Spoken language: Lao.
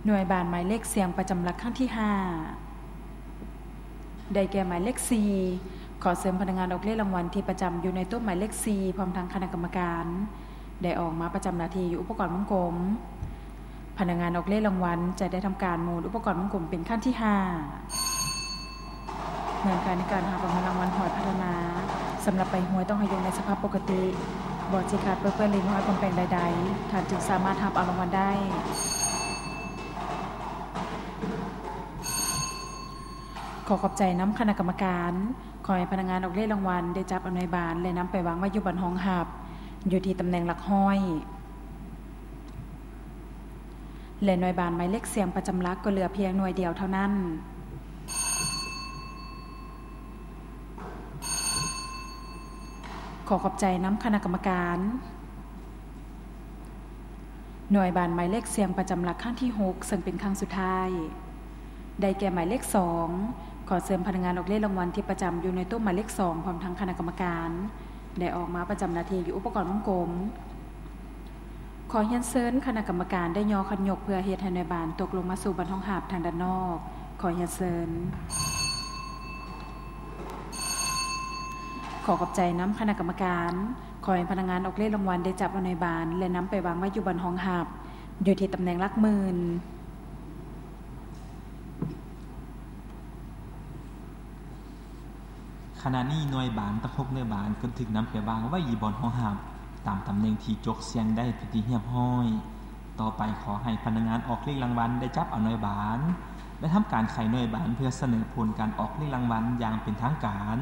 ໜ່ວຍບານໝາຍເລກສ່ຽງປະຈຳຫຼັກຄັ້ງທີຫ້າ ໄດ້ແກ່ໝາຍເລກສີ່. ຂໍເຊີນພະນັກງານອອກເລກລາງວັນທີ່ປະຈຳຢູ່ໃນໂຕະໝາຍເລກສີ່ ພ້ອມທັງຄະນະກຳມະການ ໄດ້ອອກມາປະຈຳໜ້າທີ່ຢູ່ອຸປະກອນວົງກົມ. ພະນັກງານອອກເລກລາງວັນຈະໄດ້ທຳການໝູນອຸປະກອນວົງກົມເປັນຄັ້ງທີຫ້າ. ເງື່ອນໄຂໃນການຮັບເອົາເງິນລາງວັນຫວຍພັດທະນາ ສຳລັບໃບຫວຍຕ້ອງໃຫ້ຢູ່ໃນສະພາບປົກກະຕິ, ບໍ່ຊີ້ຂາດເປິເປື້ອນ ຫຼືມີຮອຍປອມແປງໃດໆ, ທ່ານຈຶ່ງສາມາດຮັບເອົາລາງວັນໄດ້. ຂໍຂອບໃຈນຳຄະນະກຳມະການ. ຂໍໃຫ້ພະນັກງານອອກເລກລາງວັນໄດ້ຈັບເອົາໜ່ວຍບານ ແລະ ນຳໄປວາງໄວ້ຢູ່ບ່ອນຮອງຮັບ ຢູ່ທີ່ຕຳແໜ່ງຫຼັກຮ້ອຍ. ແລະ ໜ່ວຍບານໝາຍເລກສ່ຽງປະຈຳຫຼັກກໍເຫຼືອພຽງໜ່ວຍດຽວເທົ່ານັ້ນ. ຂໍຂອບໃຈນຳຄະນະກຳມະການ. ໜ່ວຍບານໝາຍເລກສ່ຽງປະຈຳຫຼັກຄັ້ງທີຫົກ ເຊິ່ງເປັນຄັ້ງສຸດທ້າຍ ໄດ້ແກ່ໝາຍເລກສອງ. ຂໍເຊີນພະນັກງານອອກເລກລາງວັນທີ່ປະຈຳຢູ່ໃນໂຕະໝາຍເລກສອງ ພ້ອມທັງຄະນະກຳມະການ ໄດ້ອອກມາປະຈຳໜ້າທີ່ຢູ່ອຸປະກອນວົງກົມ. ຂໍຮຽນເຊີນຄະນະກຳມະການໄດ້ຍໍຄັນຍົກເພື່ອເຮັດໃຫ້ໜ່ວຍບານຕົກລົງມາສູ່ບ່ອນຮອງຮັບທາງດ້ານນອກ. ຂໍຮຽນເຊີນ. ຂໍຂອບໃຈນຳຄະນະກຳມະການ. ຂໍໃຫ້ພະນັກງານອອກເລກລາງວັນໄດ້ຈັບເອົາໜ່ວຍບານ ແລະ ນຳໄປວາງໄວ້ຢູ່ບ່ອນຮອງຮັບ ຢູ່ທີ່ຕຳແໜ່ງຫຼັກໝື່ນ. ຂະນະນີ້ໜ່ວຍບານທັງຫົກໜ່ວຍບານກໍຖືກນຳໄປວາງໄວ້ຢູ່ບ່ອນຮອງຮັບ ຕາມຕຳແໜ່ງທີ່ຈົກສ່ຽງໄດ້ເປັນທີ່ຮຽບຮ້ອຍ. ຕໍ່ໄປຂໍໃຫ້ພະນັກງານອອກເລກລາງວັນໄດ້ຈັບເອົາໜ່ວຍບານ ແລະ ທຳການໄຂໜ່ວຍບານເພື່ອສະເໜີຜົນການອອກເລກລາງວັນຢ່າງເປັນທາງການ.